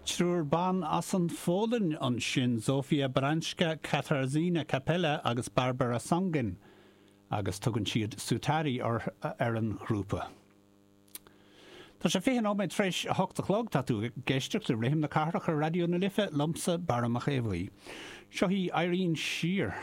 Triúr ban as an Pholainn ansin, Zofia Barańska, Katarzyna Kapela agus Barbara Songin, agus tugann siad Sutari ar an ghrúpa. Tá sé 20 nóiméad tar éis a hocht a chlog, tá tú ag éisteacht le Rithim na Cathrach ar Raidió na Life, liomsa, Barra Mac Aodha Bhuí. Seo í Irene Sheer.